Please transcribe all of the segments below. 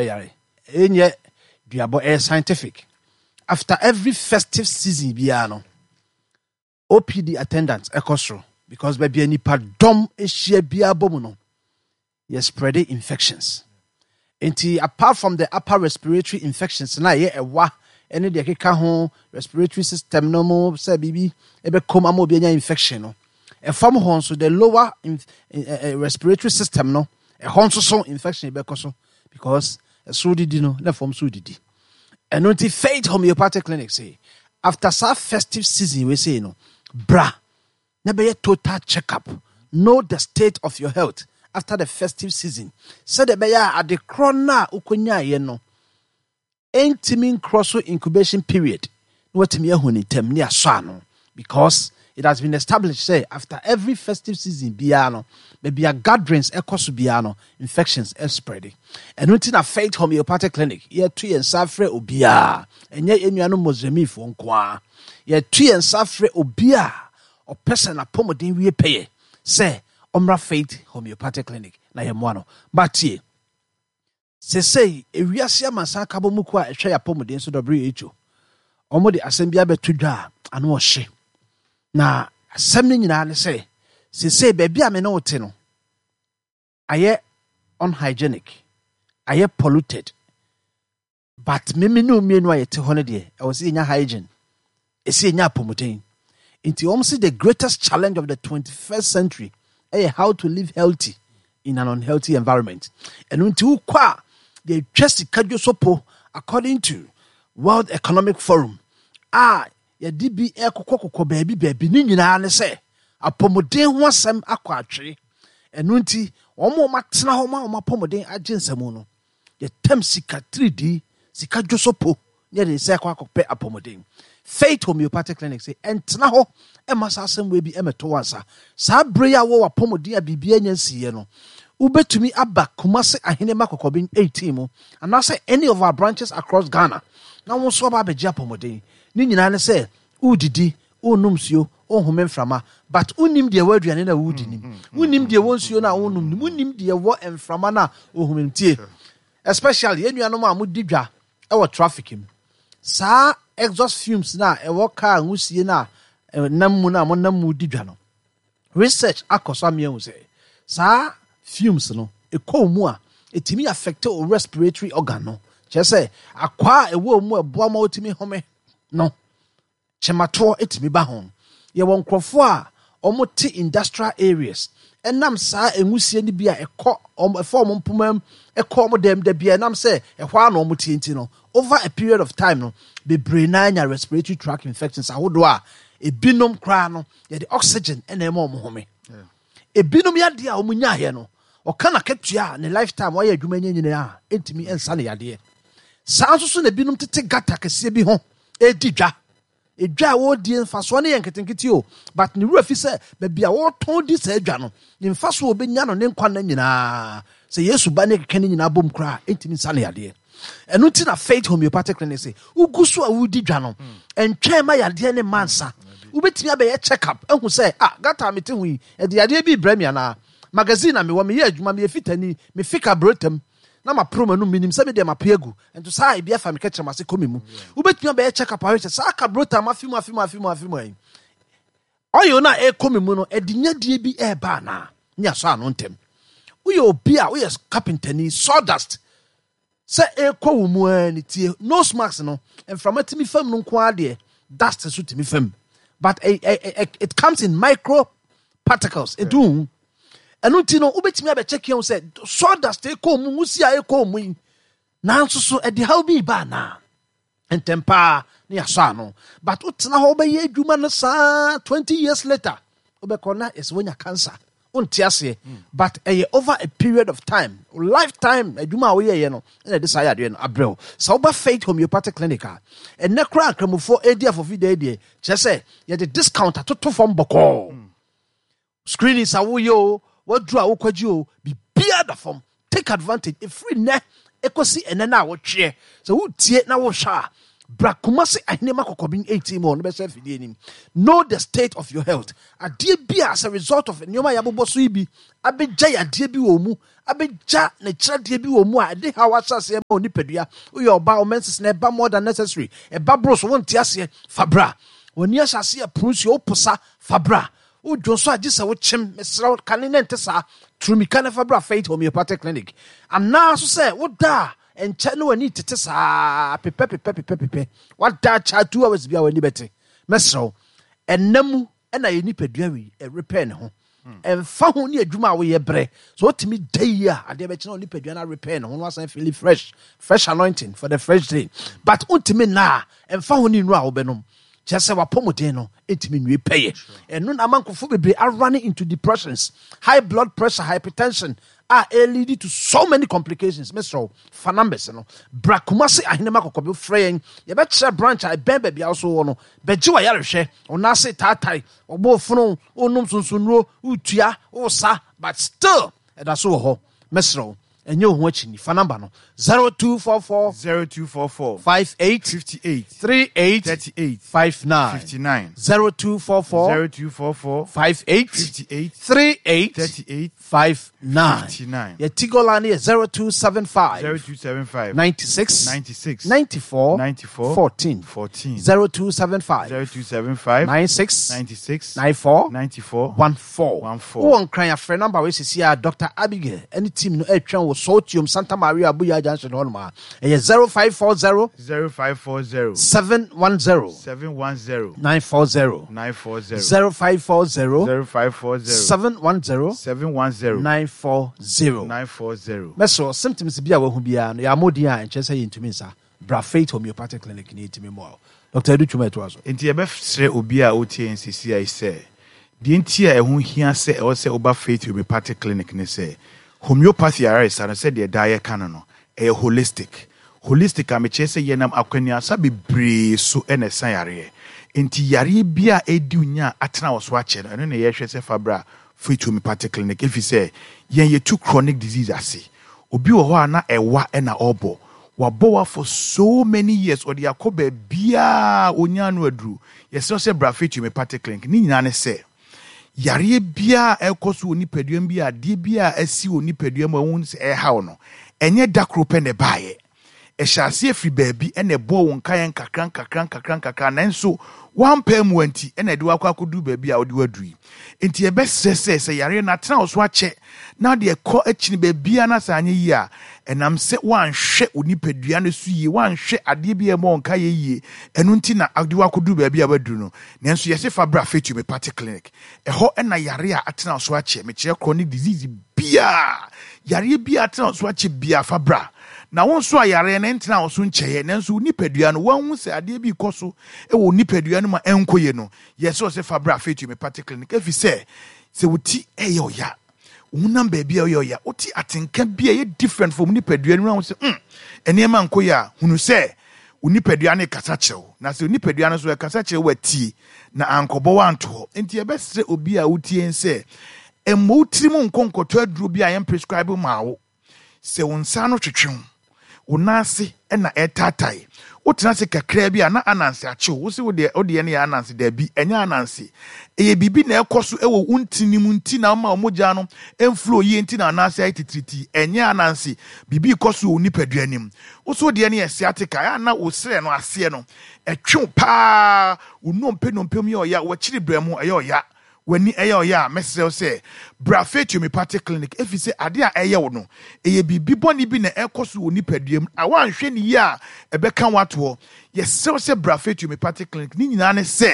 Yare ɛnyɛ duabɔ, ɛyɛ scientific. After every festive season biara no, OPD attendance ɛkɔ soro because baabi a nipa dɔm ahyia biara bɔ mu no, yɛ spread infections. Nti apart from the upper respiratory infections na ɛyɛ ɛwa ɛne deɛ ɛkeka ho, respiratory system no mu sɛ biribi ɛbɛkɔm ama obi anya infection no, ɛfam hɔ nso, the lower respiratory system no, ɛhɔ nso so infection bɛkɔ so because ɛsoro didi no na fam so didi. Ɛno nti Faith Homeopathic Clinic say after saa festive season wei sei no, bra na bɛyɛ total check-up, know the state of your health after the festive season, sɛdeɛ ɛbɛyɛ a ade korɔ no a wokɔnyaeɛ no ɛntumi nkorɔ so incubation period na watumi ahu ne ntam ne asɔ ano, because it has been established sɛ after every festive season biara no, baabi a gatherings ɛkɔ so biara no, infections spread. Ɛno nti na Faith Homeopathic Clinic yɛto yɛn nsa afrɛ obiara, ɛnyɛ yɛn nuanom Muslimfoɔ nko ara, yɛto yɛn nsa afrɛ obiara ɔpɛ sɛ n'apɔmuden wie pɛyɛ sɛ ɔmmra Faith Homeopathic Clinic na yɛmmoa no. Batie sesei ewiase amansan akabɔ mu kuo a ɛhwɛ yɛn apɔmuden so, WHO, wɔn de asɛm bi abɛto dwa a ano ɔhye. Na asɛm no nyinaa ne sɛ sesei baabi a me ne wo te no ayɛ unhygienic, ayɛ polluted, but meme ne mmienu a yɛte hɔ no deɛ, ɛwɔ sɛ yɛnya hygiene, ɛsɛ yɛnya apɔmuden. Nti wɔn sɛ the greatest challenge of the 21st century ɛyɛ how to live healthy in an unhealthy environment. Ɛno nti wokɔ a yɛtwa sika dwo so po, according to World Economic Forum a yɛde bi ɛkokɔkokɔ baabi baabi ne nyinaa ne sɛ apɔmuden ho asɛm akɔ atwere. Ɛno nti wɔn a wɔatena hɔ ma wɔn apɔmuden agye nsɛm no, yɛtam sika tiridi sika dwo so po ne yɛde nsa ɛkɔ akɔpɛ apɔmuden. Faith Homeopathic Clinic sɛ ɛntena hɔ ɛma saa asɛm wei bi ɛmɛto wansa. Saa bere yi a wɔwɔ apɔmuden a biribi anya nsiiɛ no, wobɛtumi aba Kumase Ahenema Kɔkɔben 18 mu anaasɛ any of our branches across Ghana na wɔn nso aba abɛgye apɔmuden. Ne nyinaa ne sɛ wodidi, wonnom nsuo, wonhome mframa, but wonnim deɛ ɛwɔ aduane no a wodi nim, wonnim deɛ ɛwɔ nsuo no a wonom nim, wonnim deɛ ɛwɔ mframa no a wohome tie. Especially yɛn nuanom a modi dwa ɛwɔ traffic mu, saa exhaust fumes no a ɛwɔ car nwusie no a nam mu no a monam mu di dwa no, research akɔ so ameahu sɛ saa fumes no ɛkɔ mu a, ɛtumi affect wo respiratory organ no, kyerɛ sɛ akwaa a ɛwɔ mu a ɛboa ma wotumi home no, kyematoɔ ɛtumi ba ho. Yɛwɔ nkurɔfoɔ a wɔte industrial areas, ɛnam saa nwusie no bi a ɛkɔ ɛfɔ wɔn mpoma mu ɛkɔ wɔn dɛm da bi a, ɛnam sɛ ɛhɔ ara na wɔn tie nti no, over a period of time no, bebree naa nya respiratory tract infections ahodoɔ a ebinom koraa no yɛde oxygen ɛna ɛma wɔn home. Ebinom yadeɛ a wɔn nyaayɛ no, ɔka n'akatua a ne lifetime wɔayɛ adwuma nyɛ nyinaa a ɛntumi nsa ne yadeɛ. Saa nso so na ebinom tete gutter kɛseɛ bi ho ɛredi dwa. Edwa a wɔredie mfasoɔ no yɛ nketenkete o, but ne wura fi sɛ baabi a wɔretɔn di saa adwa no, ne mfasoɔ a ɔbɛnya no ne nkwa nna nyinaa, sɛ Yesu ba ne keka ne nyinaa bom koraa a, ɛntumi nsa ne yadeɛ. Ɛno nti na Faith Homeopathic Clinic sɛ wogu so a wodi dwa no, ɛntwɛn ma yadeɛ ne mma nsa. Wobɛtumi abɛyɛ check up ahu sɛ, ah, gutter a mete ho yi, ɛde yadeɛ bi rebrɛ me anaa? Magazine na mewɔ, meyɛ adwuma, meyɛ fitani, mefe kaburotam na maporo m'anum, menim sɛ me deɛ mape agu, nto saa a ebi afa me kɛkyerɛm ase kɔ me mu. Wobɛtumi abɛyɛ check up ahwɛ sɛ saa kaburotam afe mu afe mu afe mu afe mu ayi oil no a ɛrekɔ me mu no, ɛde nyadie bi ɛreba anaa, ne asɔ ano ntɛm. Woyɛ obi a woyɛ carpentani, sawdust sɛ ɛrekɔ wo mu ara ne tie nose mask no, mframa tumi fam no nko ara deɛ, dust nso tumi fam, but it comes in micro particles, nti wohu. Ɛno nti no wobɛtumi abɛkyɛ kia wo sɛ sawdust ɛkɔ mu, nwusi a ɛkɔ mu yi, nanso so ɛde haw bi ba anaa, ntɛm paa ne yɛasɔ ano. But wotena hɔ wobɛyɛ adwuma no saa, 20 years later wobɛkɔ na yɛsɛ woanya cancer, wonte aseɛ. But ɛyɛ over a period of time, lifetime adwuma a woyɛyɛ no ɛna ɛde saa yadeɛ no abrɛ wo. Sɛ woba Faith Homeopathic Clinic a, ɛnnɛ koraa nkramofoɔ ɛredi afɔfi da deɛ, kyerɛ sɛ yɛde discount atoto fam bɔkɔɔ. Screenings a woyɛ o, waduru a wokɔgye o, biribiara da fam. Take advantage ɛfiri nnɛ ɛkɔsi ɛnɛ no a wotweɛ sɛ wotie na wohwɛ a. Bra Kumasi Ahenema Kɔkɔben 18 mu hɔ no bɛhyɛ afidie anim. Know the state of your health. Adeɛ bi a as a result of nneɛma a yɛabobɔ so yi bi abɛgya yadeɛ bi wɔ wo mu, abɛgya n'akyiradeɛ bi wɔ mu a ɛde haw ahyɛ aseɛ ma wo nipadua. Woyɛ ɔbaa, wo menses na ɛba more than necessary, ɛba boro so, wonte aseɛ, fa bra. W'ani ahyɛ aseɛ ɛpono nsuo, woposa, fa bra. Wodwo nso a gye sɛ wokyem, mesrɛ wo, kane na ɛnte saa. Turumika na fa bra Faith Homeopathic Clinic. Anaa so sɛ woda a ɛnkyɛ na w'ani tete saa pepɛ pepɛ pepɛ pepɛ. Wada akyɛ 2 hours bi a w'ani bɛte. Mɛsrɛ wo, ɛnna mu ɛna yɛ nipadua wei ɛrepɛ ne ho. Ɛmfa ho ne adwuma a woyɛ brɛ. So wotumi da yie a adeɛ bɛkyɛ na nipadua no arepɛ ne ho na wasan feel fresh, fresh anointing for the fresh day. But wontumi nna a ɛmfa ho ne nnuro a wobɛnom. Kyerɛ sɛ wapɔmuden no ntumi nwie pɛyɛ. Ɛno na ama nkurɔfoɔ bebree arun into depressions, high blood pressure, hypertension a ɛlead to so many complications. Mesrɛ wo, fa numbers no. Bra Kumasi Ahenema Kɔkɔbe frɛ yɛn. Yɛbɛkyerɛ branch a ɛbɛn baabi a wo so wɔ no. Bɛgye w'ayarehwɛ. Wo nan ase taatae, ɔbɔ ofono, wonom sunsonnuro, wotua, wosa, but still ɛda so wɔ hɔ. Mesrɛ wo, ɛnyɛ wo ho akyi fa number no 0244 0244 58 58 38 38 59 59 0244 0244 58 58 38 38 59 59. Yɛ Tigo line yɛ 0275 0275 96 96 94 94 14 14 0275 0275 96 96 94 94 14 14. Wowɔ Nkran afrɛ number wei sisi a Dr Abigail ne team no atwɛn wɔ Sortium Santa Maria Abuya Junction hɔnom a ɛyɛ 0540 0540 710 710 940 940 0540 0540 710 710 940. 940. Mɛsrɛ, symptoms bi a wahu biara no yɛamɔdin a ɛnkyerɛ sɛ yɛntumi nsa. Bra Faith Homeopathic Clinic ne yɛtumi mmoa wo. Dr Adu Twuma ɛtoa so. Nti yɛbɛsrɛ obi a wotie yɛn sisi a yi sɛ deɛ nti a ɛho hia sɛ ɛwɔ sɛ woba Faith Homeopathic Clinic ne sɛ homeopathy ayaresa no, sɛdeɛ daa yɛka no, ɛyɛ holistic. Holistic a mekyerɛ sɛ yɛnam akwannuasa bebree so ɛna ɛsa yareɛ. Nti yareɛ bi a ɛdi wo nya a atena wɔ so akyɛ no, ɛno na yɛhwɛ sɛ fa bra Faith Homeopathic Clinic, ɛfiri sɛ yɛn yɛtu chronic disease ase. Obi wɔ hɔ a na ɛwa ɛna ɔrebɔ wabɔ wa for so many years, ɔde akɔ baabiaa onya no aduru. Yɛsrɛ sɛ bra Faith Homeopathic Clinic. Ne nyinaa ne sɛ yareɛ biara a ɛkɔ so wɔ nipadua mu bi a adeɛ bi a asi wɔ nipadua mu a ɛho sɛ ɛhaw no, ɛnyɛ da koro pɛ na ɛbaeɛ. Ɛhyɛ aseɛ firi baabi ɛna ɛbɔɔ wo nkaeɛ nkakra nkakra nkakra nkakra, nanso wampaa mu anti ɛna ɛde wakɔ akɔduru baabi a wode waduru yi. Nti yɛbɛsrɛ sɛ sɛ yareɛ no atena wo so akyɛ na deɛ ɛkɔ akyini baabiara na sɛ anyɛ yie a, ɛnam sɛ woanhwɛ wo nipadua no so yie, woanhwɛ adeɛ bi a ɛbɔ wo nkaeɛ yie, ɛno nti na ade wakɔduru baabi a waduru no. Nanso yɛse fa bra Faith Homeopathic Clinic. Ɛhɔ ɛna yare a atena wo so akyɛ, mekyerɛ chronic disease biaa, yareɛ biaa atena wo so akyɛ biaa, fa bra. Na wo nso a yareɛ no ntena wo so nkyɛeɛ, nanso wo nipadua no woahu sɛ adeɛ bi kɔ so wɔ wo nipadua no mu a ɛnkɔ yie no, yɛsɛ wɔ sɛ fa bra Faith Homeopathic Clinic, ɛfiri sɛ sɛ wo ti ɛyɛ ɔya, wo honam baabi a ɔyɛ ɔya, wote atenka bi a ɛyɛ different from nipadua no mu, na wo sɛ nneɛma nkɔ yie a, hunu sɛ wo nipadua no kasa kyerɛ wo. Na sɛ wo nipadua no nso ɛkasa kyerɛ wo atie na ankɔbɔ wo anto hɔ. Nti yɛbɛsrɛ obi a wotie sɛ mmɔ wo tirim nkɔ nkɔtɔ aduro bi a yɛn prescribe maa wo. Sɛ wo nsa ano twetwe wo, wo nan ase na ɛretaatae, wotena ase kakraa bi a na ananse akye wo, wo se wo deɛ no yɛ ananse. Daabi, ɛnyɛ ananse. Ɛyɛ biribi na ɛkɔ so wɔ wo ntini mu nti na ama wo mogya no mflow yie nti na ananse ayɛ titiritii. Ɛnyɛ ananse, biribi rekɔ so wɔ wo nipadua no mu. Wo so deɛ no yɛ sciatica, ɛyɛ a na wo serɛ no aseɛ no ɛtwe wo paa, wo nnompe nnompe mu yɛ ɔya, w'akyiri brɛ mu ɛyɛ ɔya, w'ani ɛyɛ ɔyɛ a, mɛsrɛ wo sɛ bra Faith Homeopathic Clinic, ɛfiri sɛ adeɛ a ɛyɛ wo no, ɛyɛ biribi bɔne bi na ɛkɔ so wɔ nipadua mu a woanhwɛ ne yie a ɛbɛka wo atoɔ. Yɛsrɛ wo sɛ bra Faith Homeopathic Clinic. Ne nyinaa ne sɛ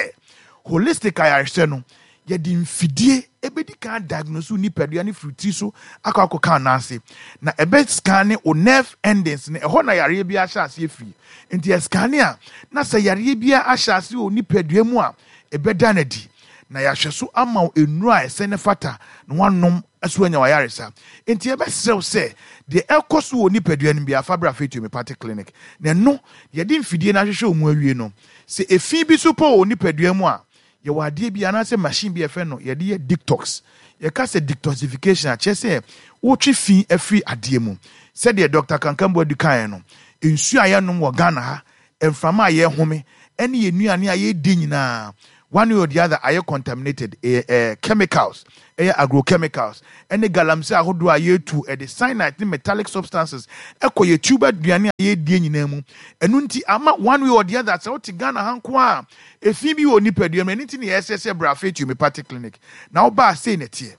holistic ayarehwɛ no, yɛde mfidie ɛbɛdi kan diagnose wo nipadua no firi tiri so akɔ akɔka anaase, na ɛbɛ scan ne wo nerve endings no. Ɛhɔ na yareɛ bi ahyɛ aseɛ firi. Nti ɛscan a na sɛ yareɛ bi ahyɛ aseɛ wɔ nipadua mu a, ɛbɛda no adi na yɛahwɛ so ama wo nnuro a ɛsɛ ne fata na wanom so anya wayaresa. Nti yɛbɛsrɛ wo sɛ deɛ ɛkɔ so wɔ nipadua no bi afa bra Faith Homeopathic Clinic. Na ɛno yɛde mfidie no ahwehwɛ wo mu awie no, sɛ efi bi so pɔ wɔ nipadua mu a, yɛwɔ adeɛ bi anaasɛ machine bi a yɛfrɛ no yɛde yɛ detox. Yɛka sɛ detoxification a, kyerɛ sɛ wotwe fi afiri adeɛ mu. Sɛdeɛ Dr Kankambu adi kaeɛ no, nsuo a yɛnom wɔ Ghana ha. Mframa a yɛhome ɛne yɛn nnuane a yɛdi nyinaa, one way or the other ayɛ contaminated. Ɛyɛ chemicals, ɛyɛ agrochemicals ɛne galamsey ahodoɔ a yɛtu, ɛde cyanide ne metallic substances ɛkɔ yɛ tuber aduane a yɛdie nyinaa mu. Ɛno nti ama one way or the other, sɛ wote Ghana ha nko a, efi bi wɔ nipadua mu. Ɛno nti na yɛsɛ sɛ bra Faith Homeopathic Clinic na wobaa sei na ɛteɛ.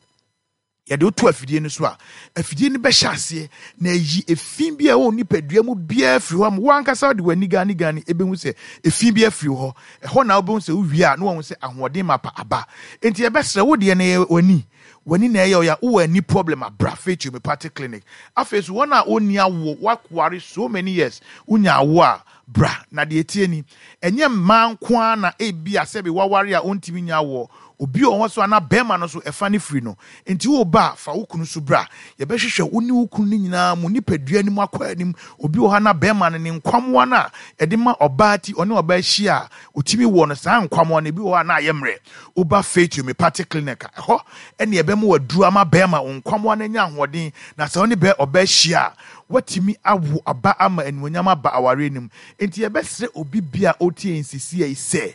Yɛde wo to afidie no so a, afidie no bɛhyɛ aseɛ na ayi efi bi a ɛwɔ nipadua mu biara firi hɔ ama wo ankasa de w'ani gane gane ɛbɛhu sɛ efi bi afiri hɔ. Ɛhɔ na wobɛhu sɛ wowie a na wahu sɛ ahoɔden mapa aba. Enti yɛbɛsrɛ wo deɛ no ɛyɛ w'ani, w'ani na ɛyɛ ɔya, wowɔ ani problem a, bra Faith Homeopathic Clinic. Afei nso wɔn a wɔnni awoɔ, woaware so many years, wonya awoɔ a, bra. Na deɛ ɛteɛ ni, ɛnyɛ mmaa nko ara na ebia sɛbe woaware a ɔntumi nnya awoɔ. Obi wɔ hɔ nso a na barima no nso ɛfa no firi no. Enti woreba a, fa wo kunu nso bra. Yɛbɛhwehwɛ wo ne wo kunu no nyinaa mo nipadua no mu akɔ anim. Obi wɔ hɔ a na barima no ne nkwammoa no a ɛde ma ɔbaa ti, ɔne ɔbaa hyia a ɔtumi wɔ no, saa nkwammoa no, ebi wɔ hɔ a na ayɛ mmerɛ. Woba Faith Homeopathic Clinic a, ɛhɔ ne yɛbɛma wo aduro ama barima wo nkwammoa no anya ahoɔden, na sɛ wo ne ɔbaa hyia a, woatumi awo aba ama animuonyam aba awareɛ no mu. Enti yɛbɛsrɛ obi biara a ɔretie yɛn seesei yi sɛ,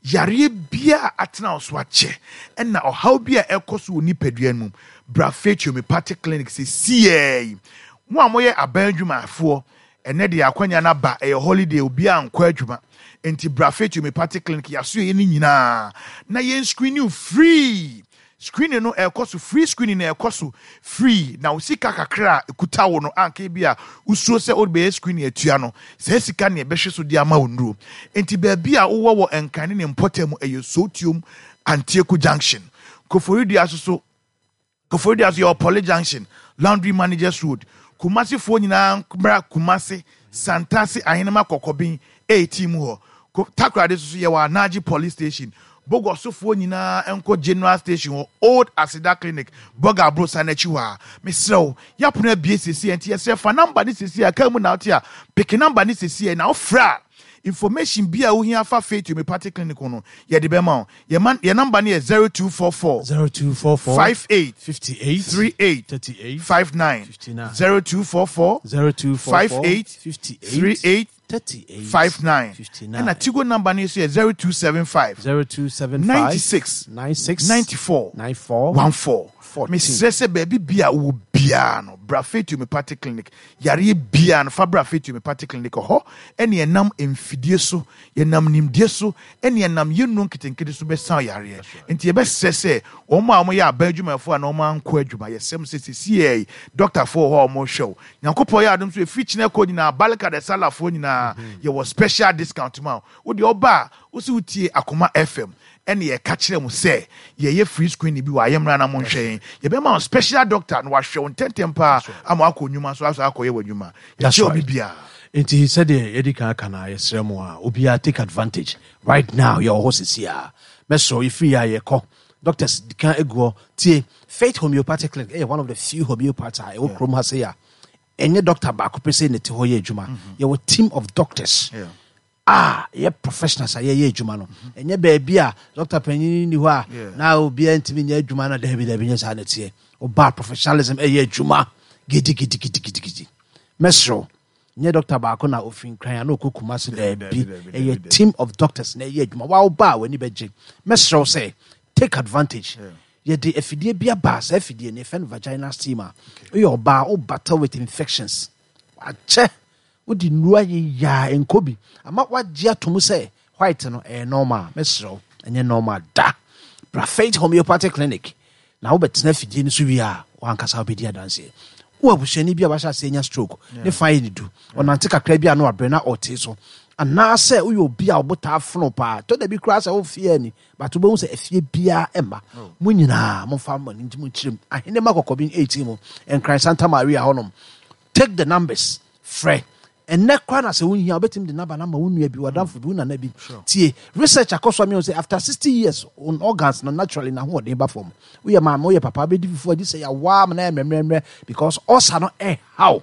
yareɛ biara a atena wo so akyɛ ɛna ɔhaw bi a ɛkɔ so wɔ nipadua no mu, bra Faith Homeopathic Clinic seesei yi. Mo a moyɛ aban adwumayɛfoɔ, ɛnɛ deɛ akwanya no aba, ɛyɛ holiday, obiara nkɔ adwuma. Enti bra Faith Homeopathic Clinic, yɛasoɛeɛ no nyinaa na yɛn screen you free. Screening no ɛrekɔ so free, screening no ɛrekɔ so free, na wo sika kakra a ɛkuta wo no anka ebi a wosuro sɛ wode bɛyɛ screening atua no, saa sika no yɛbɛhwɛ so de ama wo nnuro. Enti baabi a wowɔ wɔ Nkran ne ne mpɔtam ɛyɛ Sowutuom Antieku Junction. Koforidua nso so, Koforidua nso yɛwɔ Poly Junction, Laundry Managers Road. Kumasefoɔ nyinaa mmra Kumase, Santase, Ahenema Kɔkɔben 18 mu hɔ. Takoradi nso so yɛwɔ Anagye Police Station. Bogosofoɔ nyinaa nkɔ General Station hɔ, Old Aseda Clinic, Bɔga Aborosan no akyi hɔ a. Mesrɛ wo, yɛapono abue seesei, enti yɛsrɛ fa number no seesei a, kaa mu na wote a, peke number no seesei na wofrɛ a, information bi a wohia fa Faith Homeopathic Clinic ho no, yɛde bɛma wo. Yɛn yɛn number no yɛ 0244 0244 58 58 38 38 59 59 0244 0244 58 58 38 38 59. 59. Ɛna Tigo number no nso yɛ 0275 0275 96 96 94 94 14. 14. Mesrɛ sɛ baabi bia wowɔ biara no, bra Faith Homeopathic Clinic. Yareɛ biara no, fa bra Faith Homeopathic Clinic. Ɛhɔ ɛne ɛnam mfidie so, yɛnam nimdeɛ so, ɛne ɛnam yɛn nnuro nketenkete so bɛsa yareɛ. Nti yɛbɛsrɛ sɛ wɔn a wɔyɛ aban adwumayɛfoɔ a na wɔn ankɔ adwuma, yɛsrɛ mo sɛ seesei yi dɔktafoɔ wɔ hɔ a wɔrehwɛ wo. Nyankopɔn yɛ adom so ɛfiri kyena kɔ nyinaa, Barka da Salahfoɔ nyinaa, yɛwɔ special discount ma wo. Wo deɛ ɔba a, wo se wotie Akoma FM, ɛne yɛka kyerɛ mo sɛ yɛyɛ free screening bi wɔ ayɛmmra na monhwɛ yɛn. Yɛbɛma wo special doctor na wahwɛ wo ntɛntɛm paa ama wakɔ nnwuma so aso akɔyɛ w'adwuma. That's Yɛkyɛ obi right. biara. Nti sɛdeɛ yɛdi kan aka no a, yɛsrɛ mo a obiara take advantage right now. Yɛwɔ hɔ sisi a, mɛsrɛ yɛfiri yɛ a yɛkɔ doctors di kan agu hɔ. Tie, Faith Homeopathic Clinic ɛyɛ one of the few homeopaths a ɛwɔ kurom ha sɛ a ɛnyɛ doctor baako pɛ sɛ ne te hɔ yɛ adwuma. Yɛwɔ team of doctors a yɛ professionals a yɛyɛ adwuma no. Ɛnyɛ baabi a doctor panyin ni hɔ a na obiara ntumi nyɛ adwuma no. Dabi dabi, nyɛ saa na ɛteɛ. Ɔbaa professionalism ɛyɛ adwuma gidigidigidigidi. Mɛsrɛ, nyɛ doctor baako na ofiri Nkran a na ɔkɔ Kumase. Daabi, ɛyɛ team of doctors na ɛyɛ adwuma. Wa ɔbaa w'ani bɛgye. Mɛsrɛ wo sɛ take advantage. Yɛde afidie bi aba. Saa afidie no yɛfrɛ no vaginal steamer. Woyɛ ɔbaa, wo battle with infections akyɛ, wode nnuro ayeyyaa nkɔ bi ama wagye ato mu sɛ white no ɛyɛ normal, mɛsrɛ wo, ɛnyɛ normal da. Bra Faith Homeopathic Clinic na wobɛtena afidie no so wie a, wankasa wobɛdi adanseɛ. Wo abusuani bi a wahyɛ aseɛ nya stroke ne fa yɛ ne du, ɔnante kakra bi a na wabrɛ na ɔte so, anaasɛ woyɛ obi a wobotaa fono paa, tɔ da bi koraa sɛ wofie ani but wobɛhu sɛ afie biara ɛmma mo nyinaa, momfa mo ani nti mo nkyerɛm Ahenema Kɔkɔben 18 mu, Nkran Santa Maria hɔnom. Take the numbers, frɛ ɛnɛ koraa na sɛ wohia, wobɛtumi de number no ama wo nua bi, wadamfo bi, wo nana bi. Tie, research akɔ so amehu sɛ after 60 years on organs no naturally na hoɔden ba fam. Woyɛ maame, woyɛ papa, wobɛdi fufuo agye sɛ yɛawaa ma na yɛ mmerɛmmerɛmmerɛ because ɔsa no ɛhaw.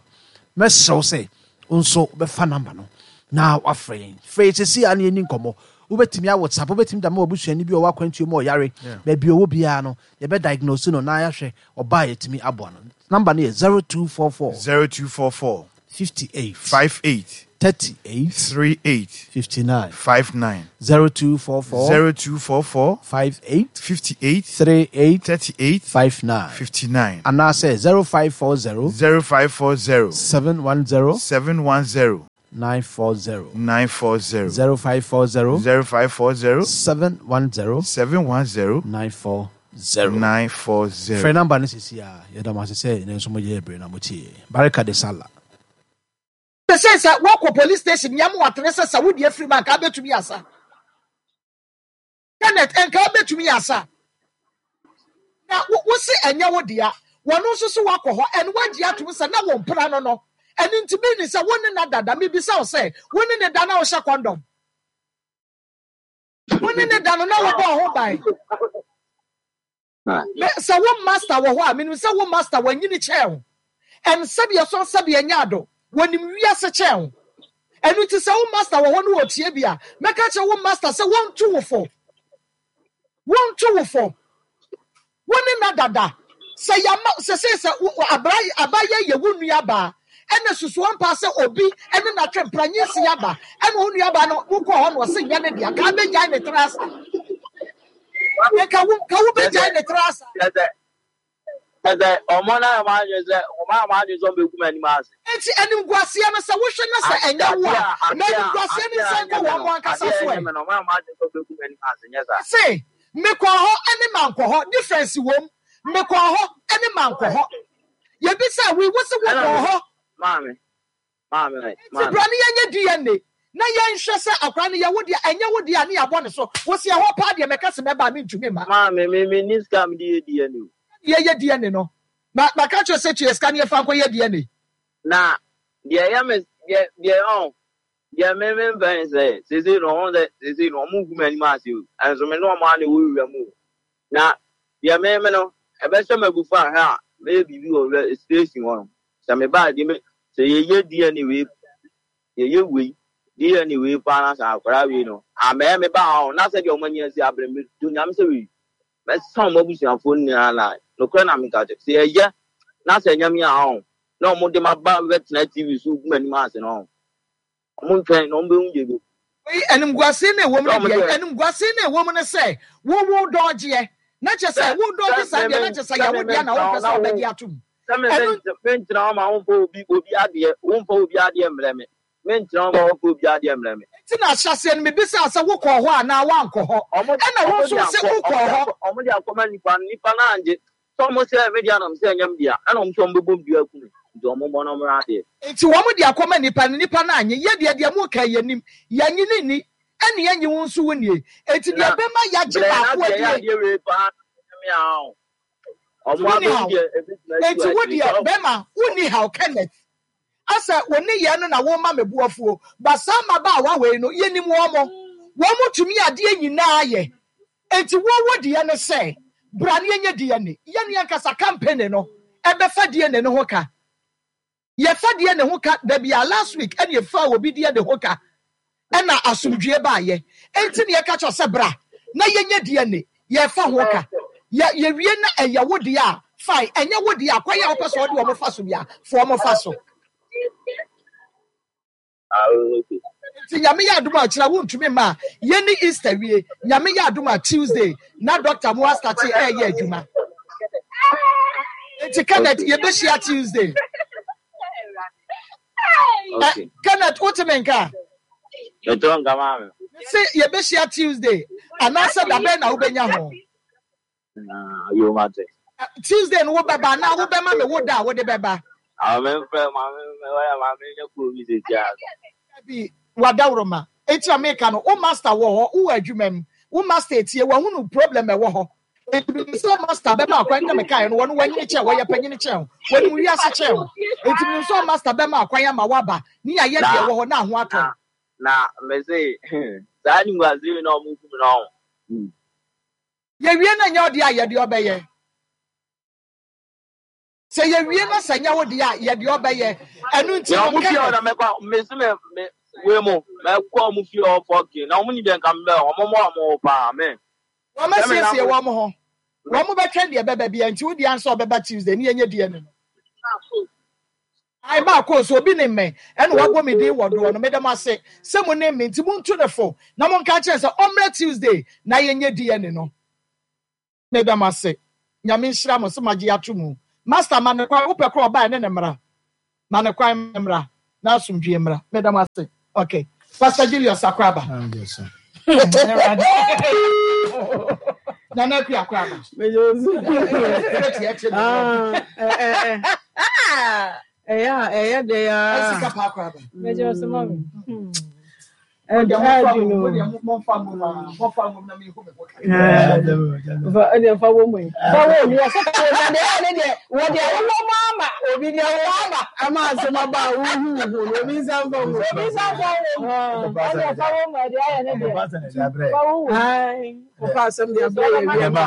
Mɛsrɛ wo sɛ wo nso wobɛfa number no na wafrɛ yɛn. Frɛ yɛ sɛsi a na yɛni nkɔmmɔ. Wobɛtumi a WhatsApp, wobɛtumi da ma wabusuani bi a ɔwɔ akwantuo mu, ɔyare, baabi ɔwɔ biara no, yɛbɛ diagnose no na yɛahwɛ ɔbaa yɛtumi aboa no. Number no yɛ 0244 0244 58 58. 38 38 59. 59. 0244 0244 58 58 38 38 59. 59. Anaasɛ 0540 0540 710 710 940. 940. 0540 0540 710 710 940. 940. Frɛ number no sisi a yɛda mo ase sɛ ɛnɛ nso moyɛ berɛ na motie. Barika de Sala. Sɛ sɛ wɔkɔ police station yam watene sɛ sɛ wode afiri mu anka wobɛtumi asa. Kenneth, nka wobɛtumi asa. Na wo se ɛnyɛ wo dea. Wɔno nso so wakɔ hɔ ɛno wagye atom sɛ na wo mpena no no. Ɛno nti mi ni sɛ wo ne na dada. Mebisa wo sɛ wo ne ne da na wohyɛ condom. Wo ne ne da no na wobɔ ho ban. Sɛ wo master wɔ hɔ a, menim sɛ wo master wanyini kyɛn wo. Ɛn sɛdeɛ sɔn sɛdeɛ nyɛ ado, wɔnim wiase kyɛn wo. Ɛno nti sɛ wo master wɔ hɔ no wɔtie bi a, mɛka kyerɛ wo master sɛ wɔnto wo fo. Wɔnto wo fo. Wo ne na dada. Sɛ yama sɛ sɛ sɛ abra abayɛ yɛ wo nua baa. Ɛna susu ampa sɛ obi ɛne na twɛ mpra nyinsi aba. Ɛna wo nua baa no wokɔ hɔ no ɔse nyɛ ne dea. Ka bɛgyae ne tra asa. Ka wo ka wo bɛgyae ne tra asa. Sɛ ɔmo na ɔmo adwene sɛ ɔmo a ɔmo adwene sɛ ɔmo bɛgu m'anim ase. Enti animguaseɛ no sɛ wohwɛ na sɛ ɛnyɛ wo a, na animguaseɛ no nsan kɔ wɔn mo ankasa so ɛ. Ɔmo a ɔmo adwene sɛ ɔmo bɛgu m'anim ase nyɛ saa. Se mekɔɔ hɔ ɛne mankɔ hɔ difference wom. Mekɔɔ hɔ ɛne mankɔ hɔ. Yɛbisa wi wo se wokɔɔ hɔ. Maame, maame, Nti bra ne yɛnyɛ DNA na yɛnhwɛ sɛ akwaraa no yɛ wo deɛ ɛnyɛ wo deɛ a ne yɛabɔ ne so. Wo se ɛhɔ paa deɛ mɛka se mɛba a mentumi mma. Maame, me me ni sika mi de yɛ DNA o. Yɛyɛ DNA no. Ma maka kyerɛ sɛ tua sika ne yɛfa nkɔyɛ DNA. Na deɛ ɛyɛ me deɛ deɛ ɔn deɛ me me mpɛ ne sɛ sese no ɔn sɛ sese no ɔmo gu m'anim ase o, ɛnso me ne ɔmo ana ɛwɔ wura mu o. Na deɛ me me no ɛbɛhyɛ m'abufu ahwɛ a mɛyɛ biribi wɔ wura station hɔ no, sɛ me ba deɛ me sɛ yɛyɛ DNA wei yɛyɛ wei DNA wei paa na sɛ akwadaa wei no amɛyɛ me ba ɔn na sɛ deɛ ɔmo ani asi abere me do nyame sɛ wei mɛsa ɔmo abusuafoɔ nyinaa na nokorɛ na meka kyerɛ sɛ yɛyɛ na sɛ ɛnyɛ me a ɔn na ɔmo de ma ba bɛtena TV so gu m'anim ase no ɔn ɔmo ntwɛn na ɔmo bɛhu deɛ bɛ. Wei animguase na ɛwɔ mu no deɛ animguase na ɛwɔ mu no sɛ wowo dɔɔgyeɛ na kyɛ sɛ wo dɔɔgye saa deɛ na kyɛ sɛ yɛwo deɛ na wopɛ sɛ ɔbɛgye atom. Sɛ me mentena hɔ ma womfa obi obi adeɛ womfa obi adeɛ mmerɛ me mentena hɔ ma womfa obi adeɛ mmerɛ me. Nti na ahyɛaseɛ no mebisaa sɛ wokɔɔ hɔ anaa woankɔ hɔ ɛna wo nso wose wokɔɔ hɔ. Ɔmo de akɔma nipa no nipa no angye sɛ ɔmo sɛ me dea na mese ɛnyɛ me dea ɛna ɔmo sɛ ɔmo bɛbɔ me dua aku me nti ɔmo mmɔ na ɔmo mmra adeɛ. Nti wɔn de akɔma nipa no nipa no annye yɛ deɛ deɛ moka yi yɛnim yɛnnye no nni ɛne yɛnnye wo nso wo nnie nti deɛ Na ɛbɛma yɛagye brɛ na baako deɛ ɛyɛ adie. adeɛ wei paa na ɛnyɛ me a ɔn Nti ɔmo wonni abɛhu haw. deɛ ɛbɛtumi asi Nti wɔ wo akyire deɛ sɛ bɛma wonni haw Kenneth. Asɛ wo nneyɛɛ no na woma me bo afuo. But saa mmabaawa wei no yɛnim wɔn mo. Wɔn mo tumi adeɛ nyinaa yɛ. Nti wo wo deɛ ne sɛ bra ne yɛnyɛ DNA. Yɛne ankasa company no ɛbɛfa DNA no ho ka. Yɛfa DNA ho ka da bi a last week ɛne yɛfaa obi DNA ho ka ɛna asomdwie baayɛ. Nti ne yɛka kyerɛ sɛ bra na yɛnyɛ DNA. Yɛfa ho ka. Yɛ yɛwie na ɛyɛ wo deɛ a fine. Ɛnyɛ wo deɛ a kwan a wopɛ sɛ ɔde wɔn fa so bia fa wɔn fa so. Nti Nyame yɛ adom a kyerɛ wontumi mma a yɛni Easter wie. Nyame yɛ adom a Tuesday na doctor mo astate ɛyɛ adwuma. Nti Kenneth yɛbɛhyia Tuesday. Okay. Kenneth wotumi nka? Metɔ nka maame. Se yɛbɛhyia Tuesday anaasɛ dabɛn na wobɛnya ho? Yo mate. Tuesday no wobɛba anaa wobɛma me wo da a wode bɛba? Memfrɛ maame maame nyɛ kuro bi sɛsi a. Bi wadaworoma. Enti na meka no wo master wɔ hɔ wowɔ adwuma mu. Wo master etie wahunu problem ɛwɔ hɔ. Enti menim sɛ master bɛma akwan na mekaeɛ no wɔno wanyini kyɛn wɔyɛ panyini kyɛn wo. Wɔnim wiase kyɛn wo. Enti menim sɛ master bɛma akwan ama woaba ne yɛayɛ deɛ ɛwɔ hɔ na ho atɔ. Na mese saa nimguase yi na ɔmo kum no ɔho. Yɛwie na nyɛ ɔdeɛ a yɛde ɔbɛyɛ. Sɛ yɛwie na sɛ nyɛ wo deɛ a yɛde ɔbɛyɛ. Ɛno nti na no ɔmo fie hɔ na Kenneth. mɛkɔ mesi me me wei mo mɛkɔ ɔmo fie hɔ fɔkin na ɔmo ni deɛ nka mbɛ ɔmo mo ɔmo wɔ paa me. Wɔn Sɛ me asiesie nam wɔn ho. Wɔn bɛtwɛn deɛ ɛbɛba bia nti wo deɛ ansa ɔbɛba Tuesday ne yɛnyɛ DNA no. Ae maakɔ nso obi nim me ɛna wabɔ me din wɔ doɔ no meda mo ase sɛ mo nim me nti montu no fo na monka nkyerɛ no sɛ ɔmmra Tuesday na yɛnyɛ DNA no meda mo ase Nyame nhyira mo sɛ moagye ato mu Master ma no kwan wopɛ koraa ɔba ɛne no mmra ma no kwan ma no mmra na asomdwie mmra meda mo ase ok Pastor Julius Akoraba Nana Akua Akoraba Ɛyɛ a ɛyɛ dɛ ara. Sika pa Akoraba. Mɛgye ɔsɛ mami. Ɛdeɛ fa wɔ mu yi. Fa wɔ mu wɔsɛ fa wɔ mu na deɛ ɛyɛ ne deɛ wɔ deɛ wowɔ mu ama obi deɛ wowɔ ama ama asɛm aba a wohu hu no obi nsa mfa mu. Obi nsa mfa wɔ mu. Ɛdeɛ fa wɔ mu ɛdeɛ ayɛ ne deɛ. Fa wɔ mu. Wofa asɛm deɛ abrɛ yɛ wie ma.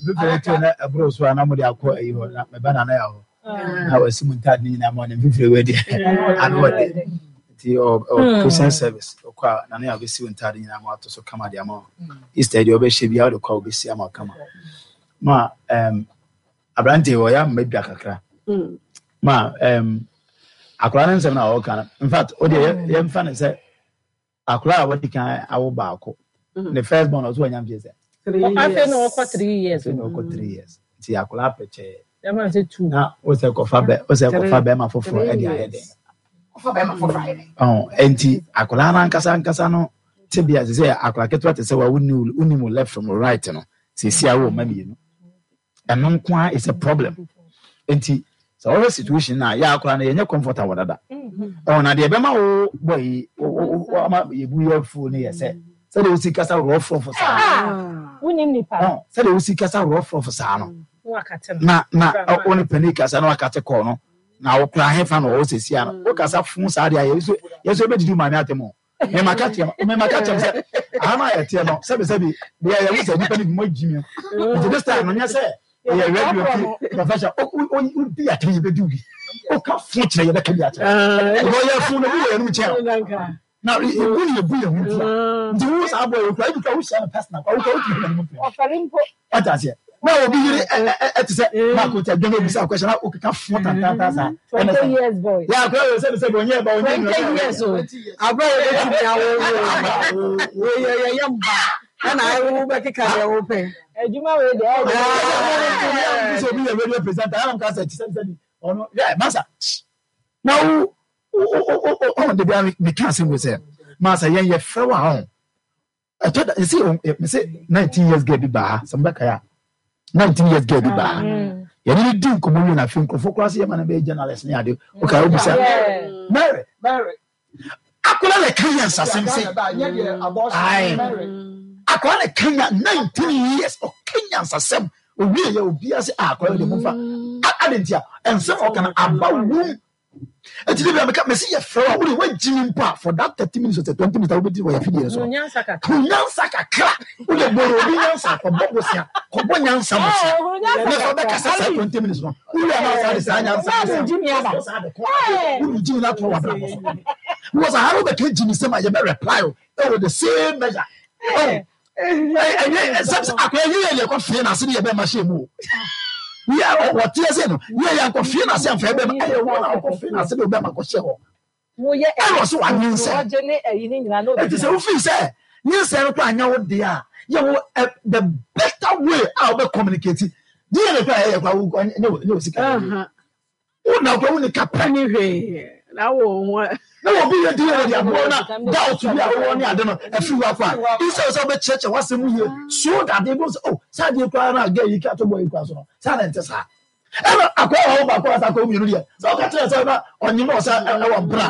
Fifiri to na ɛboro so a na mo de akɔ ayi hɔ na mɛba na na yɛ hɔ. Na wɔasi mu ntaade ne nyinaa ma ɔne mfifiri wei deɛ ano ɔde nti ɔ Christian service ɔkɔ a na ne abɛsi wo ntaade nyinaa ma ato so kama de ama wo Easter deɛ ɔbɛhyɛ biara wode kɔ a wobɛsi ama kama ma aberante ɔyɛ ama dwa kakra ma akwadaa no nsɛm na ɔka no in fact wodeɛ yɛmfa no sɛ Akwadaa a wadi kan awo baako. Ne first born ɔso wanya mfie sɛ. Afei na ɔkɔ 3 years. Afei na ɔkɔ 3 years. Nti akwadaa pɛkyɛɛ. Ɛma sɛ two. Na wosɛ kɔfa bɛ wosɛ kɔfa bɛrima foforɔ ɛde ayɛ dɛ. Kɔfa bɛrima foforɔ ayɛ dɛ. Ɔn nti akwadaa no ankasa ankasa no tebea sɛ sɛ akwadaa ketewa te sɛ wa wonni wonni mu left from right no sɛsi awo mma mmienu. Ɛno nko ara is a problem. Nti sɛ wɔhwɛ situation no a yɛ akora no yɛnyɛ comfortable dada. Ɔn na deɛ ɛbɛma wo bɔ yi wo ama yɛbu yɛ afuo no yɛ sɛ sɛdeɛ wosi kasa rɔfrɔfo saa. Wonim nipa. Ɔn sɛdeɛ wosi kasa rɔfrɔfo saa no. Na na wo ne panin kasa na wakate kɔɔ no na wokora hefa na ɔwɔ sɛsi ano wokasa fo saa deɛ a yɛ nso yɛbɛdidi wo maame atɛm o. Mema ka kyerɛ mema ka kyerɛ sɛ aha no a yɛteɛ no sɛbi sɛbi deɛ yɛhu sɛ nnipa no bi mo agyi mi nti this time no nyɛ sɛ ɛyɛ radio ti profession wodi atɛn yɛbɛdi wo bi woka fo kyerɛ yɛbɛka bi akyerɛ ɛbɛ ɔyɛ fo no bi wɔ yɛnom kyɛn na yɛbu ne yɛbu yɛn ho ntia nti wo saa bɔ yɛ kura ebi kura wohyia no personal kura wokura wotumi hwɛ no mu pɛ wate aseɛ na obi yere ɛte sɛ baako tɛ dwom ebisa akɔhyɛ na okeka fo tantantan saa ɛna sɛ yɛ akora wɔ sɛbi sɛbi ɔnyɛ ɛba ɔnyɛ nua 20 years o abira yɛ bɛtumi awo wo yɛ yɛ yɛ mba ɛna awo bɛkeka deɛ wopɛ adwuma wei deɛ ɛyɛ sɛ obi yɛ radio presenter ɛna nka sɛ sɛbi sɛbi ɔno yɛ masa na wo ɔn de bi a meka asɛm wei sɛ masa yɛn yɛ frɛ wɔ ahɔn ɛtɔ da yɛsi mese 19 years girl bi baa ha sɛ mobɛkae a 19 years girl bi baa ha yɛne no di nkɔmmɔ wie na afei nkurɔfoɔ koraa sɛ yɛma no bɛyɛ journalist ne ade wokae wobisa Mary akwadaa na ɛka nyansasɛm sɛ ae akwadaa na ɛka nya 19 years ɔka nyansasɛm owie yɛ obiara sɛ akwadaa de momfa ade nti a ɛnsɛm a ɔka no aba wom. Eti de bia meka mesi yɛ frɛ wa wode wagyimi mpo a for that 30 minutes or 20 minutes a wobɛdi wɔ yɛ fidie no so no nyansa kakra wode boro obi nyansa kɔbɔ bosea kɔbɔ nyansa bosea ne fa bɛkasa saa 20 minutes no wowie a na saa de saa nyansa saa de kɔ wode gyimi no ato wabrabɔ so because aha no wobɛka gyimi sɛm a yɛbɛ reply o ɛwɔ the same measure oh ɛnyɛ sɛ akɔyɛ yɛ yɛ kɔ fie n'ase ne yɛ bɛma hyɛ mu o yɛ wɔteɛ sɛ no yɛ yɛ akɔ fie n'ase amfa yɛ bɛma ɛyɛ wɔn a wɔkɔ fie n'ase de bɛma kɔ hyɛ hɔ ɛna ɔsɛ wanyinsɛn eti sɛ wofi sɛ nyinsɛn no kɔ anya wo deɛ a yɛ wɔ the better way a wɔbɛ communicate deɛ ne kɔ a ɛyɛ kɔ a wo nyɛ wɔ sika yɛ Wo na wokura wonni kapɛ. Wonni hwee na wɔ ho a. Na obi yɛ di yɛ de aboɔ na doubt bi a wowɔ ne ade no afiri hɔ akɔ a, instead sɛ wobɛkyerɛkyerɛ w'asɛm mu yie so that they don't say oh saa adeɛ koraa na girl yi ka to boy yi koraa so no saa na ɛnte saa. Ɛna akɔyɛ wɔ baako asa akɔyɛ mmienu deɛ sɛ ɔka kyerɛ sɛ na ɔnyem na ɔsɛ ɛwɔ mpena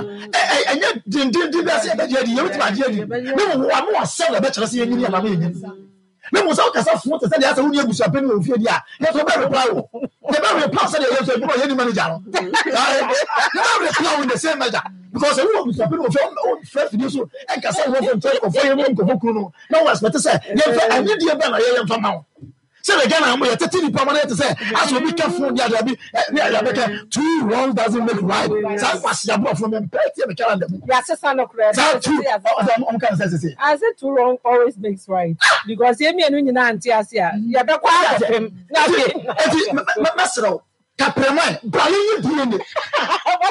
ɛnyɛ dendenden bi ase yɛbɛgye adi yɛbɛtumi agye adi ne mu wɔn ano asɛm na ɛbɛkyerɛ sɛ yɛnyini anaa yɛnyini. Na mmom sɛ wokasa fo te sɛ deɛ asɛ wonni abusuapanin wɔ wo fie deɛ a, yɛn nso yɛbɛ reply wo. Yɛbɛ reply sɛdeɛ yɛn nso adwuma a yɛnni manager no. Yɛbɛ reply wo in the same measure. Because sɛ wowɔ abusuapanin wɔ fie, womfrɛ fidie so nkasa wo ho nkyerɛ nkurɔfoɔ yere ne nkurɔfoɔ kunu no na wo expect sɛ yɛmfa anidie bɛn na yɛyɛ mfa ma wo. Sɛdeɛ Ghana mo yɛtete nipa ma no yɛ te sɛ asɛ obi ka phone de adeɛ bi ne adeɛ abɛka two wrongs doesn't make right. Saa nkwasi aborɔfo no mempɛ tie me calendar mu. Yɛasesa no koraa. Saa two ɔsɛ ɔmo ka no sɛ sese. I say two wrong always makes right because yɛn mmienu nyinaa nte ase a yɛbɛkɔ akɔpem na afei. Eti mɛsrɛ wo. Kaprɛman, bra yɛnyɛ DNA.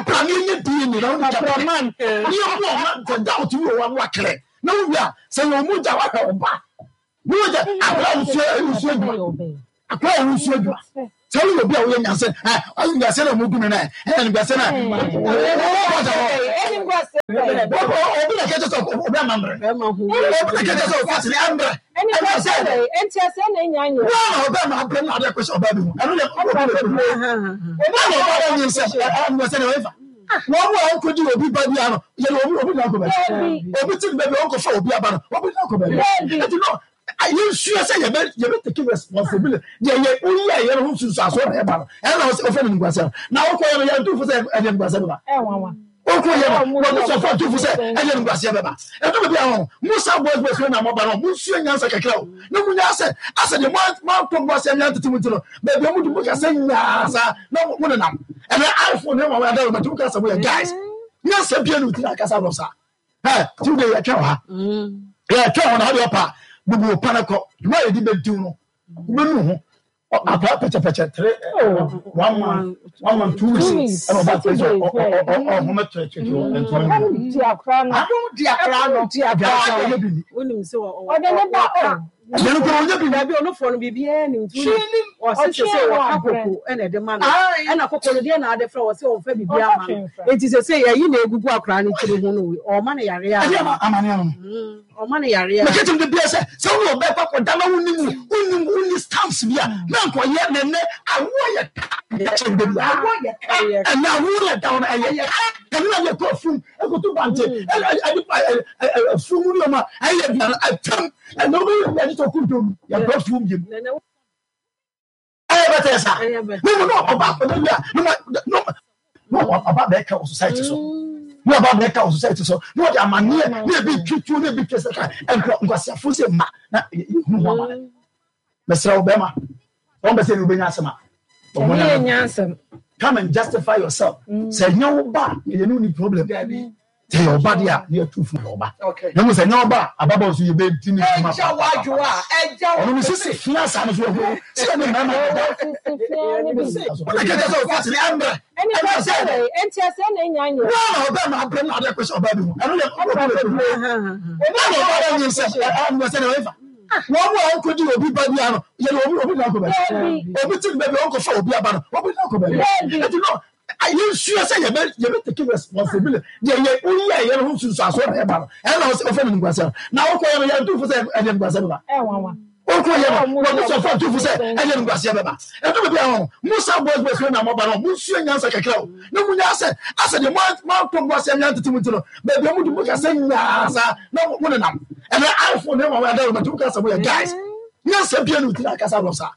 Bra na yɛnyɛ DNA na wone Kaprɛman. Ne yɛhu ɔma sɛ doubt bi wɔ hɔ a na wakyerɛ. Na wowie a, sɛ yɛ ɔmo gya wahwɛ wo ba. Ne wogya akora a wosua wosua adwuma. Akora a wosua adwuma. Sɛ woyɛ obi a woyɛ nyansa ɛ nyansa na ɔmo gu me na ɛ nyansa na obi na kɛkyɛ sɛ obi ama mmerɛ. Obi na kɛkyɛ sɛ ɔfa sini ammerɛ. Wọn na ọbẹ ma abirẹ na adi akɔhyɛ ɔbaa bi ho ɛno yɛ ɔbɛ bi ho ɔbaa na ɔbaa yɛ nyinsɛn ɛɛ sɛ ɛyɛ fa wɔn mu a ɔnkɔgye obi ba bi ano yɛ obi obi na akɔ baabi obi ti baabi ɔnkɔfa obi aba no obi na akɔ baabi ɛti no yɛn nsua sɛ yɛbɛ yɛbɛ take responsibility deɛ yɛ oyi a yɛn ho nsunsuanso na ɛba no ɛna ɔfɛ no nkwasɛm na ɔkɔ yɛ no yɛn ntufo sɛ ɛdeɛ nkwasɛm ba. Oko yɛ no, wɔn sɔfo atufo sɛ ɛyɛ nguaseɛ bɛba. Ɛdɔ baabi a wɔn, mo saa boys boys na mo ba no, mo nsua nyansa kakra o. Na mo nya sɛ, asɛ deɛ mo mo antɔ mo aseɛ ne antete mo ti no, baabi a mo di mo kasa nyaa saa na mo nenam. Ɛnɛ iPhone ne wɔn ada wɔn ti mo kasa mo yɛ guys. Nyansa bia no ti na akasa no saa. Ɛ ti de yɛ twɛn ha. Yɛ twɛn hɔ na ɔde ɔpa bubu pa na kɔ. Dwuma yɛ di bɛ diw no, wobɛnu ho. Akwadaa pɛkyɛpɛkyɛ tere 1 month, 1 month 2 weeks ɛna ɔba pɛ sɛ ɔhome kyerɛkyerɛ wɔ ntoma no mu. Di akora no. Adum di akora no. Di akora no. Wonim sɛ ɔde ne ba o. Ɛno kora ɔnyɛ bi. Dabi ɔnofoɔ no biribiara nim nti wonim ɔse sɛ sɛ wɔka koko ɛna ɛde ma no ɛna koko no deɛ na ade frɛ wɔ sɛ ɔmfa biribiara ma no enti sɛ sɛ yɛyi na egugu akora no tiri ho no ɔma no yareɛ a amaneɛ no Ɔma no yareɛ a. Meka kyerɛ no da biara sɛ, sɛ wo ne ɔbaa kɔ akɔda na wonni mu, wonni mu, wonni stamps bi a, na nkɔyɛ na ɛnɛ awoɔ yɛ ka. Meka kyerɛ no da biara. Awoɔ yɛ ka. Ɛnɛ awoɔ yɛ da hɔ no ɛyɛ ka. Ɛno na yɛkɔ afum, ɛkɔto bante, ɛde afum mu nneɛma ɛyɛ aduane atwam. Ɛnɛ wobɛyɛ bi agye sɛ ɔkɔ dwom, yɛkɔ afum bio. Ɛyɛ bɛtɛ sa. Ne mu na ɔba akɔda bi a, ne na ɔba bɛka wɔ society so. Na ɔba bɛka wɔ society so. Na ɔde amaneɛ na ebi twitwi na ebi twɛ sɛ ka nkɔ nkwasiafo sɛ mma na ehunu ho amane. Mesrɛ wo bɛrima, wɔn bɛ sɛ ne wobɛnya asɛm a. Ɛne yɛ asɛm. Come and justify yourself. Sɛ ɛnyɛ wo ba a, yɛne wo ni problem. Sɛ yɛ ɔba deɛ a, ne yɛtu fo yɛ ɔba. Na mmom sɛ ɛnyɛ ɔba a, ababaawa nso yɛbɛdi ne dwuma papaapa. Ɔno ne sisi fia saa no so ɛho sɛ ɛne mmarima deda. Wọ́n kẹ́kẹ́ sọ fásitì ní ẹ̀mbrẹ̀. Ẹni sẹ́ ẹnti ẹsẹ̀ na ẹnya nyẹ. Wọ́n na ọbẹ̀ máa bẹ̀rẹ̀ náà adé pẹ̀sẹ̀ ọba bi ho. Ẹnu yẹ ọbẹ̀ bi ho. Wọ́n na ọba bẹ̀ nyi nsẹ̀ ẹ̀mbrẹ̀ sẹ́ na ẹ̀fà. Wọ́n mu a ɔnkɔgye obi ba bi ano yɛ obi obi na akɔ baabi. Obi ti baabi ɔnkɔfa obi aba no obi na akɔ baabi. Ɛti no yɛnsua sɛ yɛbɛ yɛbɛ take responsibility deɛ yɛ woyɛ yɛ no ho nsunsuansoɔ na ɛba no ɛna ɔfɛ no nkwasɛm na wokɔ yɛ no yɛ ntufo sɛ ɛdeɛ nkwasɛm bɛba wokɔ yɛ no wɔn sɔfo ntufo sɛ ɛdeɛ nkwasɛm bɛba ɛdu baabi a wɔn mo sa boys boys na mo ba no mo nsua nyansa kakra o na mo nya sɛ asɛ deɛ mo antɔ mo asɛm yɛn tete mo ti no baabi a mo di mo kasa nyaa saa na mo nenam ɛnɛ iPhone ne wɔn ada wɔn ti mo kasa mo yɛ guys nyansa bia no ti na akasa wɔ saa.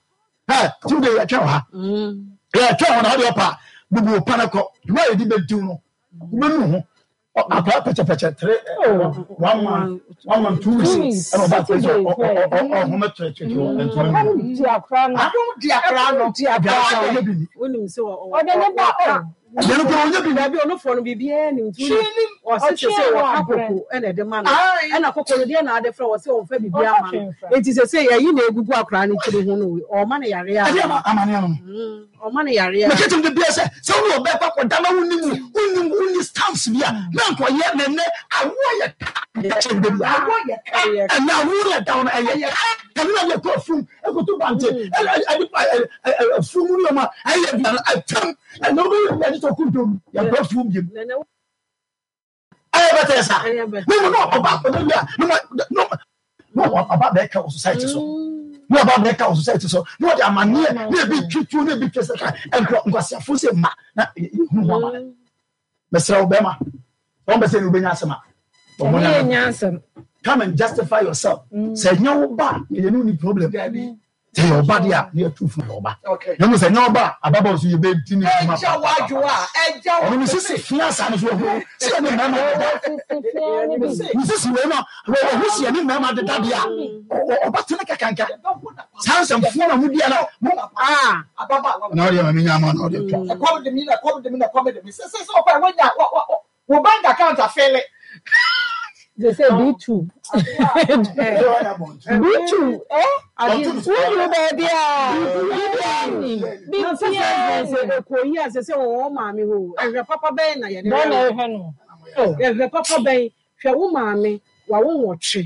Ɛ ti de yɛtwɛn wɔ ha. Yɛtwɛn hɔ na ɔde ɔpa bubu pa no kɔ. Dwuma a yɛde bɛdiw no, wobɛnu ho. Akwadaa pɛkyɛpɛkyɛ tere 1 month, 1 month 2 weeks ɛna ɔba pɛ sɛ ɔhome kyerɛkyerɛ wɔ ntoma no mu. Di akora no. Adum di akora no. Di akora no. Wonim sɛ ɔde ne ba o. Ɛno kora ɔnyɛ bi. Dabi ɔnofoɔ no biribiara nim nti wonim ɔse sɛ sɛ wɔka koko ɛna ɛde ma no ɛna koko no deɛ na ade frɛ wɔ sɛ ɔmfa biribiara ma no enti sɛ sɛ yɛyi na egugu akwaraa no tiri ho no ɔma no yareɛ a Ɛde amaneɛ no. Ɔma no yareɛ a. Meka kyerɛ no da biara sɛ sɛ wo ne ɔbaa kɔ akɔda na wonni mu wonni mu wonni stamps bi a na nkɔyɛ na ɛnɛ awoɔ yɛ ka. Meka kyerɛ no da biara. Awoɔ yɛ ka. Ɛnɛ awoɔ yɛ da no ɛyɛ ka. Ɛno na yɛkɔ afum ɛkɔto bante ɛde afum mu nneɛma ɛyɛ aduane atwam. Ɛnna wobɛyɛ bi agye sɛ ɔkɔ dwom yɛbrɛ fuom biom. Ɛyɛ bɛtɛ sa. Ne mu na ɔba akɔda bi a na ɔba bɛka wɔ society so. Na ɔba bɛka wɔ society so. Na ɔde amaneɛ na ebi twitwi na ebi twɛ sɛ ka nkɔ nkwasiafo sɛ mma na ehunu ho amane. Mesrɛ wo bɛrima, wɔn bɛ sɛ ne wobɛnya asɛm a. Ɛne yɛ nyansɛm. Come and justify yourself. Sɛ ɛnyɛ wo ba a, yɛne wo ni problem. Sɛ yɛ ɔba deɛ a, ne yɛtu fo yɛ ɔba. Na mmom sɛ nyɛ ɔba a, ababaawa nso yɛbɛdi ne dwuma papaapa. Ɔno ne sisi fia saa no so ɔho sɛ ɛne mmarima deda. Ne sisi wei no, ɔho sɛ ɛne mmarima deda deɛ a, ɔba tene kakanka. Saa nsɛmfoɔ na modi ana mo. Na ɔdeɛ ma menya ama na ɔdeɛ twa. Ɛkɔm de mi na ɛkɔm de mi na ɛkɔm de mi. Sɛ sɛ sɛ ɔkɔ a wonya wo bank account afele. They say B2. B2, eh? Woduru baabi a, biribiara nni. Biribiara nni. Ɛkɔ yi a sɛ sɛ wɔwɔ maame hɔ o, ɛhwɛ papa bɛn na yɛde Bɛn na hwɛ ɛhwɛ no? no? Ɛhwɛ papa bɛn? Hwɛ wo maame, wawo nwɔtwe.